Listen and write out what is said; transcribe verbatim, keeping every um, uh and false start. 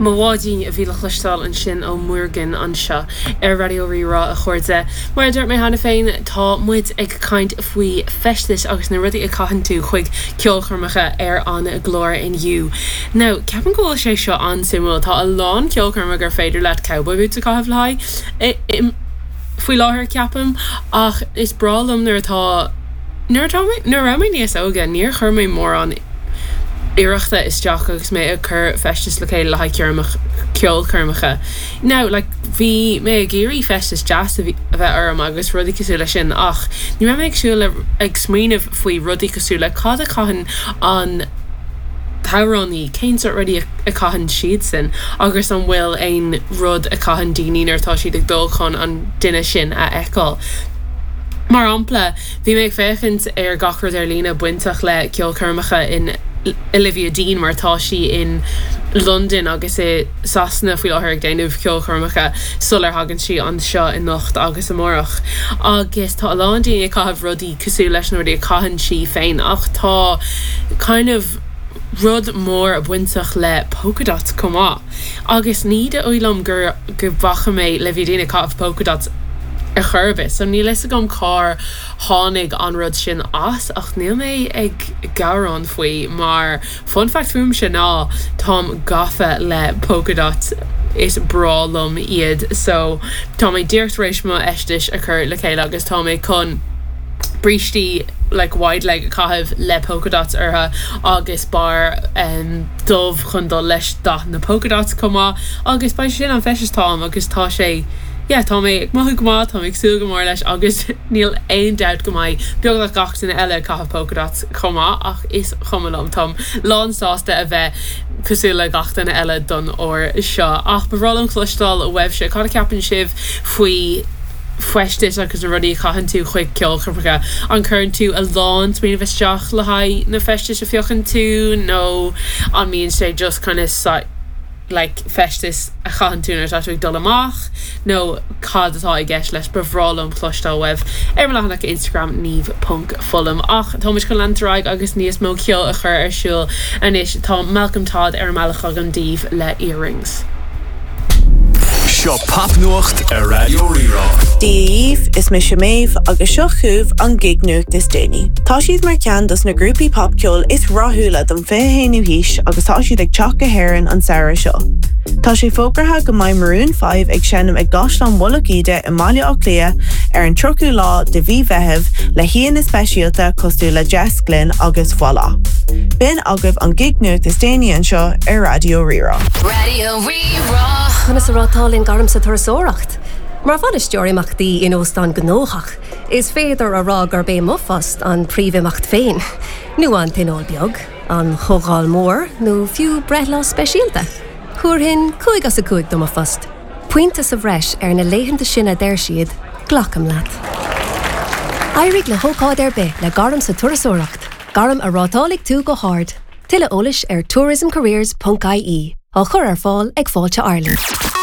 Mo bháidín a bhí le cloisteáil ansin ó Muirgen anseo ar Raidió Rí-Rá a chairde. Mar a dúirt mé cheana féin tá muid ag caint faoi feistis agus na rudaí a chaitheann tú chuig ceolchoirmeacha ar an gclár inniu. Now ceapaim go bhfuil sé seo an-suimiúil tá a lán ceolchoirme gur féidir leat cowboy boots a chaitheamh le haghaidh faoi láthair ceapaim ach is breá liom nuair atá nuair atá nuair a raibh mé níos óige níor chuir mé mórán iarrachta isteach agus mé ag cur feistis le chéile le haghaidh ceolchoirmeacha. Now like bhí mé ag iarraidh feistis deas a bheith orm agus rudaí cosúil leis sin ach ní raibh mé ag siúl ag smaoineamh faoi rudaí cosúil le cad a chaitheann an t-amhránaí cén sórt rudaí a chaitheann siadsan agus an bhfuil aon rud a chaitheann daoine nuair atá siad ag dul chun an duine sin a fheiceáil. Mar shampla, bhí mé ag féachaint ar gach rud ar líne bainteach le ceolchoirmeacha in Olivia Dean mar tá sí in London agus i Sasana faoi láthair ag déanamh ceolchoirmeacha sular thagann sí anseo anocht agus amárach. Agus tá a lán daoine ag caitheamh rudaí cosúil leis na rudaí a chaitheann sí féin ach tá kind of rud mór bainteach le polka dots chomh maith. Agus ní dóigh liom gur go bhfaca mé Olivia Dean ag caitheamh polka dots ar chor ar bith, so níl fhios agam cár tháinig an rud sin as ach níl mé ag gearán faoi mar fun fact fúmsa ná táim gafa le polka dots is breá liom iad so tá mé díreach tar éis mo fheistis a chur le chéile agus tá mé chun brístí like wide leg a chaitheamh le polka dots orthu agus barr um, dubh chun dul leis dath na polka dots chomh maith agus beidh sin an feisteas táim agus tá sé yeah, tá mé mothú go maith tá mé ag súil go mór leis agus níl aon dabht go mbeidh beagnach gach duine eile caitheamh polka dots chomh maith ach is cuma liom táim lán sásta a bheith cosúil le gach duine eile don uair seo ach ba bhreá liom cloisteáil uaibhse cad a cheapann sibh faoi feistis agus na rudaí a chaitheann tú chuig ceolchoirmeacha an gcuireann tú a lán smaoineamh isteach le haghaidh na feistis a phiocann tú nó an mbíonn sé just kind of like feistis a chaitheann tú nuair atá tú ag dul amach nó cad atá i gceist leis ba bhreá liom cloisteáil uaibh ar mo leathanach Instagram niamh ponc fullam ach tá muid chun leanúint ar aghaidh agus níos mó ceoil a chur ar siúl anois tá Malcolm Todd ar an mbealach agam daoibh le earrings. Seo popnuacht ar Raidió Rí-Rá. Dia is mise Méabh agus seo chugaibh an gig nuacht is déanaí. Tá siad mar cheann dos na grúpaí popcheoil is rathúla don fiche haonú haois agus tá siad ag teacht go hÉirinn an samhradh seo. Tá sé fógartha go mbeidh Maroon five ag seinm ag gCaisleán Mhullach Íde i mBaile Átha Cliath ar an tríochú lá de mhí Mheithimh le haíonna speisialta cosúil le Jess Glynne agus Voila. B'in agaibh an gig nuacht is déanaí anseo ar Raidió Rí-Rá. Raidió Rí-Rá. Conas a rátálann gairm sa turasóireacht. Mar bhainisteoir imeachtaí in óstán gnóthach, is féidir a rá gurb é mo phost an príomhimeacht féin, nó an tionól beag, an chomhdháil mór nó fiú breithlá speisialta. Thabharfainn cúig as a cúig do mo phost. Pointe sa bhreis ar na laethanta sin a deir siad, glacaim leat. Éirigh le hócáid ar bith le gairm sa turasóireacht, gairm a rátálfaidh tú go hard. Tuilleadh eolais ar tourismcareers ponc I E á chur ar fáil ag Fáilte Ireland.